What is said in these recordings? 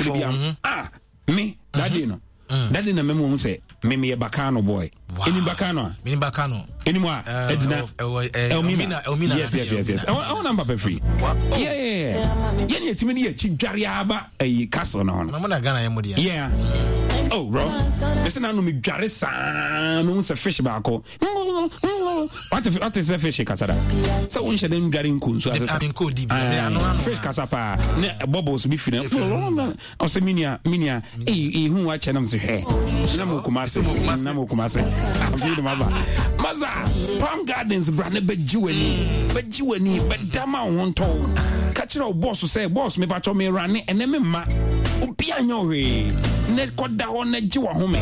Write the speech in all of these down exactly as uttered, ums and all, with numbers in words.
De Wofɔ bia wo ho. Ah, me that day no, that day na mɛma hu sɛ me meyɛ Bakano boy. Wow. Ɛnim Bakano a? Menim Bakano. Ɛnim a Eh, ɛdina ɛwɔ- ɛwɔ, eh, Elmina. Elmina, Elmina, yes yes yes yes Elmina. Ɛwɔ ɛwɔ na papa firi. yeah yeah yeah yɛne yɛtumi ne yɛkyi dware aba ɛyi castle no ho no. Na mo na Ghana yɛ mo deɛ. Yeah, oh bro, mese na no medware saa, mehu sɛ fish baako, wate wate sɛ fish kasa da sɛ wonhyɛ dɛ ndware nkɔ nsu ase sa. Ah, menkɔɔ deep, sɛ me ano ano. Fish kasa paa ne bubbles bi firi. Ɛfiri no ɔsɛ menua, menua, ɛhu wakyɛ nam sɛ hwɛ na mo Kumase, na mo Kumase afei de maba masa Palm Gardens. Bra ne bɛgye w'ani, bɛgye w'ani, bɛda ma wo ho ntɔw. Ka kyerɛ wo boss sɛ, "Boss, mepatwɔ merane ɛnɛ, me mma obia nyɛ wo hwee." Ne kɔda hɔ na gye w'ahome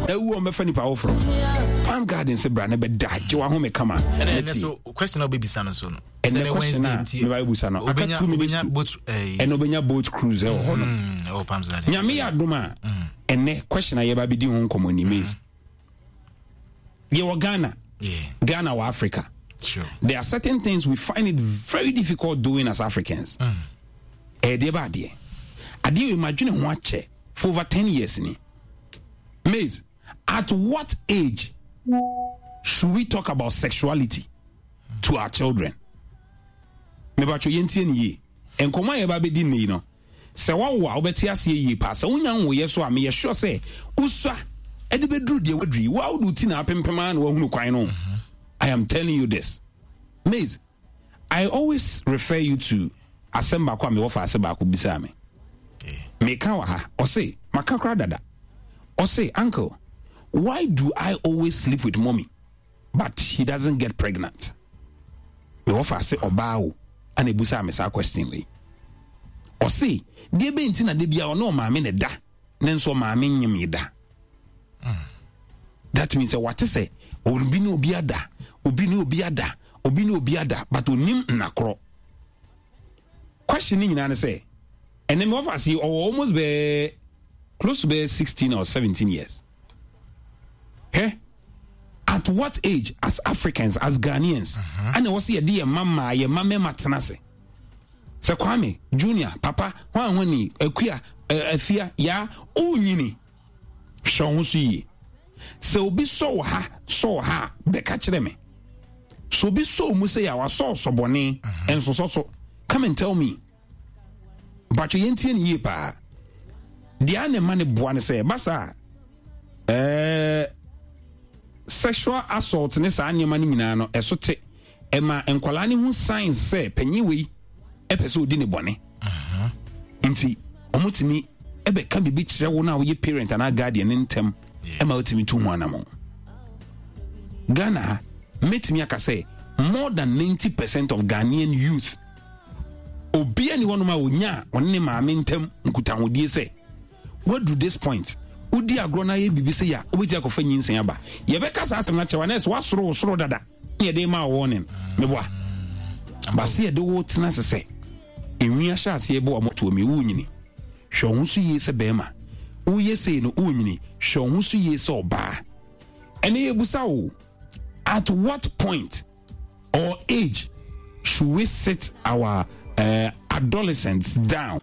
na awu a ɔmbɛfa nipa foforɔ. Palm Gardens, bra ne bɛda, gye w'ahome kama. Ɛnɛ Na ɛnɛ tie. So question a wobɛbisa no so no, Ɛnɛ sɛ question a Wednesday nti, meba bɛbusa no, aka obɛnya- two minutes obɛnya to boat, eh, ɛna obɛnya boat cruise ɛwɔ hɔ no. mm, ɛwɔ Palms Garden. Nyame yɛ adom a, ɛnɛ question a yɛba bɛdi ho nkɔmmɔ ni, maize yɛwɔ Ghana. Yeah, Ghana wɔ Africa. sure. There are certain things we find it very difficult doing as Africans. Ɛyɛ deɛ ba adeɛ adeɛ wei madwene ho akyɛ for over ten years ni. Maize, at what age should we talk about sexuality to our children? Mebatwo, yɛntie ne yie. Nkɔmmɔ a yɛba bɛdi nne yi no, sɛ woawo a, wobɛte aseɛ yie paa. Sɛ wonya nwoyɛ so a, meyɛ sure sɛ wosua ɛde bɛduru deɛ waduru yi, woa wode wo ti na apempem a na woahunu kwan no. I am telling you this, maize, I always refer you to asɛm baako a mewɔ fa ase baako bisaa me. Meka wɔ ha, ɔse maka kora dada. Ɔse, "Uncle, why do I always sleep with mommy but she doesn't get pregnant?" Mewɔ fa ase ɔbaa o ana ebusaa me saa question wei. Ɔse deɛ bɛn nti na de bia ɔne ɔmaame ne da ne nso ɔmaame nyem yi da? That means sɛ wate sɛ obi ne obi ada, obi ne obi ada, obi ne obi ada, but onim nnakorɔ. Question ne nyinaa ne sɛ ɛnɛ mewɔ fa ase ɔwɔ almost bɛɛ close to bɛɛ sixteen or seventeen years. Hɛ, at what age, as Africans, as Ghanaians, ɛna ɛwɔ sɛ yɛde yɛn mma mmaa, yɛn mma mmarima tena ase sɛ Kwame Junior, papa hwan hwani, Akua, ɛ, Afia yaa ɔnyini, hwɛ wo ho so yie. Sɛ obi sɔ wɔ ha, sɔ wɔ ha a, bɛka kyerɛ me. Sɛ obi sɔ wo mu sɛ yɛ a wasɔ sɔbɔne nsosɔ so, come and tell me. Batwo, yɛntie ne yie paa. Deɛ a ne ma ne boa ne sɛ ɛba saa a, ɛɛ sexual assault ne saa nneɛma no nyinaa no ɛso te. Ɛma nkwadaa no ho signs sɛ panyin wei ɛpɛ sɛ odi ne bɔne, nti ɔmotumi ɛbɛka biribi kyerɛ wo no a woyɛ parent anaa guardian ne ntɛm ɛma wotumi tu ho anammɔn. Ghana ha, mɛtumi aka sɛ more than ninety percent of Ghanaian youth, obia ni hɔnom a onya a ɔne ne maame ntam nkutahodie sɛ waduru this point, wodi agorɔ no ayɛ biribi sɛ yɛ a wobɛtumi akɔfa nyinsɛn aba. Yɛbɛka saa asɛm no akyerɛ wa na ɛsɛ woasoro wo soro dada ne yɛde ma wo warning. Meboa base yɛde wo tena ase sɛ enwi ahyɛ aseɛ bɔ wamɔtoɔ mi, wonyini, hwɛ wo ho so yie sɛ bɛrima woyɛ sei no, wonyini, hwɛ wo ho so yie sɛ ɔbaa. Ɛne yɛbusa wo, at what point or age should we sit our uh, adolescents down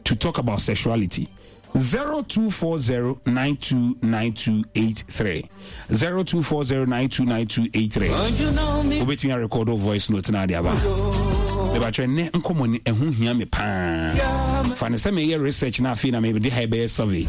to talk about sexuality? zero two four zero nine two nine two eight three, zero two four zero nine two nine two eight three. Wobɛtumi arecord wo voice note no ade aba. Mebatwɛ nnɛ nkɔmmɔ ni ɛho hia me paa. Fa ne sɛ meyɛ research no afei na mede ha ɛbɛyɛ survey.